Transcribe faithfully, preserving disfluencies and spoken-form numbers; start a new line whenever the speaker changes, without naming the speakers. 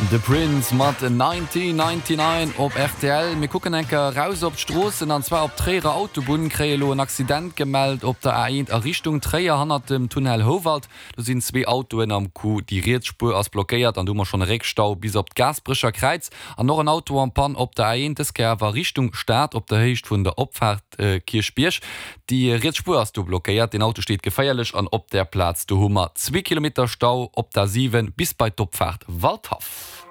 De Prince mat nineteen ninety-nine op rtl. Mir kucken eng Kéier raus op d'Stroossen an zwar op d'Tréierer Autobunn. Kréie lo en Accident gemellt op der A eent a Richtung Tréier hannert dem Tunnel Houwald. Do sinn zwee Autoen am Coup, déi riets Spuer ass blockéiert an do hu mer schonn e Réckstau bis op d'Gaasperecher Kräiz. An och en Auto en Panne op der A eent, dës Kéier awer Richtung Stad op der Héicht vun der Opfaart Kierchbierg. Déi riets Spuer ass do blockéiert, den Auto steet geféierlech an op där Plaz do hu mer zwee Kilometer Stau op der A siwen bis bei d'Opfaart Waldhaff.